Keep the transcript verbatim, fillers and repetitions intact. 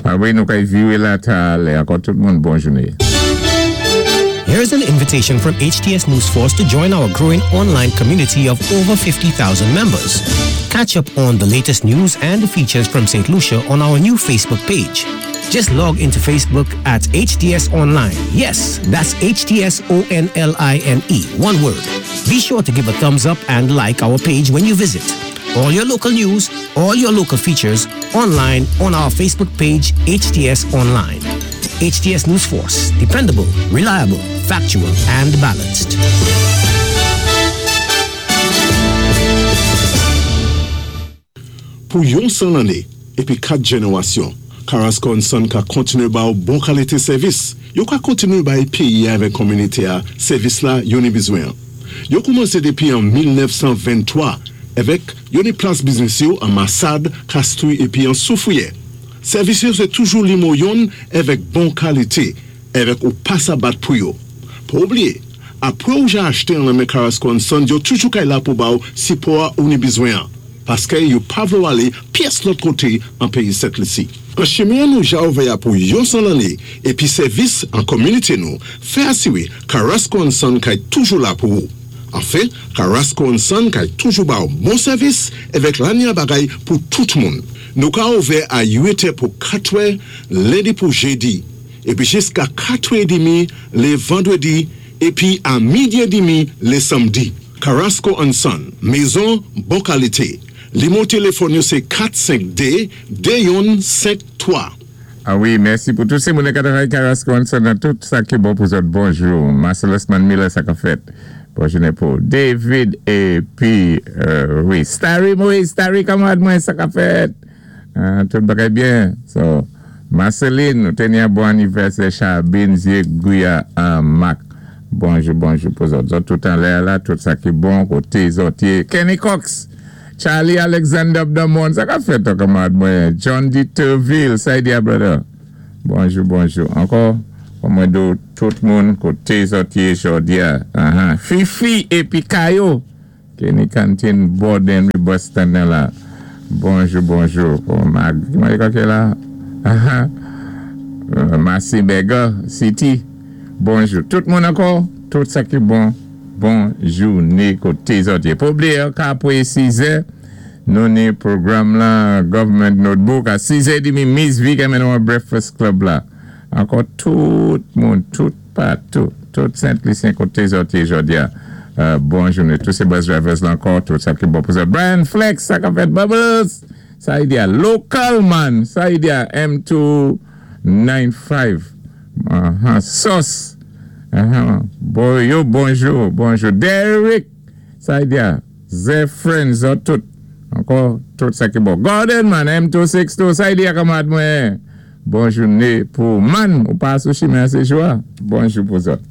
Ah wi, nou kay viwé la talè. Ankò tout moun, bon jouné. Here's an invitation from H T S News Force to join our growing online community of over fifty thousand members. Catch up on the latest news and features from Saint Lucia on our new Facebook page. Just log into Facebook at H T S Online. Yes, that's H T S O N L I N E, one word. Be sure to give a thumbs up and like our page when you visit. All your local news, all your local features, online on our Facebook page, H T S Online. H T S News Force, dependable, reliable, factual, and balanced. Pou yon san lanné épi kat jénéwasyon, Carrasco and Son ka kontiné ba ou bon kalité sèvis. Yo ka kontiné bay péyi avèk kominité-a sèvis la yo ni bizwen. Yo koumansé dépi an mil nèf san venntwa avèk yo ni plas biznis yo an Massade, Castries épi an Soufrière. Sèvis yo sé toujou nimo youn avèk bon kalité, avèk ou pa sa bat pou yo. Pa oubliyé, apwé ou ja achté an nan men Carrasco and Son, yo toujou kay la pou ba ou sipò ou ni bizwen. Paské yo pa vlé ou alé pyès lòt koté an péyi Sent Lisi. An chimen nou ja ouvè pou yon san lanné épi sèvis an kominité nou, fè asiwé Carrasco and Son kay toujou la pou ou. Anfen, Carrasco and Son kay toujou ba ou bon sèvis avèk lanya bagay pou tout moun. Nou ka ouvè a uit è pou katwè, lendi pou jédi, épi jiska katwè édmi lé vandwédi, épi a midi édmi lé sanmdi. Carrasco and Son, mézon bon kalité. Nimo téléfòn yo sé kat senk dé dé youn senk twa. Ah wi, mèsi pou tout sé moun ki travay Carrasco and Son, tout sa ki bon pou zòt. Bonjou. Marcellus Miller, sa ka fèt. Bon jouné pou David épi, euh, wi, Starry Moïse, Starry kanmarad mwen, sa ka fèt. Euh, tout bagay byen. So, Marceline, nou téni yon bon anivèsè, Chabine, Zie, Gouya, Mac. Bonjou, bonjou pou zòt. Zòt tout an lè la, tout sa ki bon, koté zòt. Kenny Cox, Charlie Alexander Abdamon, sa ka fèt, kanmarad mwen. John D. Turville, sa di brother. Bonjou, bonjou. Ankò, pou mwen di tout moun, koté zòt yé jòdi a. Uh-huh. Fifi épi Kayo. Kenny Canteen, Borden, bus stand la. Bonjou, bonjou. Oh, mag, mwen ki la? Uh-huh. Euh, Massi Berger, City. Bonjou. Tout moun ankò, tout sa ki bon. Bon jouné koté zòt yé. Pa oubliyé, apwé sis è, nou ni pwogram la, Government Notebook, a sis è édmi, Miss V ki mennen Breakfast Club la. Ankò tout moun, tout patou, tout Sent-Lisyen koté zòt yé jòdi a. Euh, bon jouné. Tout sé bus drivers la ankò, tout sa ki bon pou sa. Brian Flex, sa ka fèt Bubbles. Sa y di a Local Man, sa y di a M two nine five. Uh-huh. Sauce. Uh-huh. Bon, yo, bonjou, bonjou. Derek, sa y di a Zé Friends, tout. Ankò, tout sa ki bon. Gordon man, M two six two, sa y di a kanmarad mwen. Bon jouné pou man, ou pa sou chimen sé jou a. Bonjou pou zòt.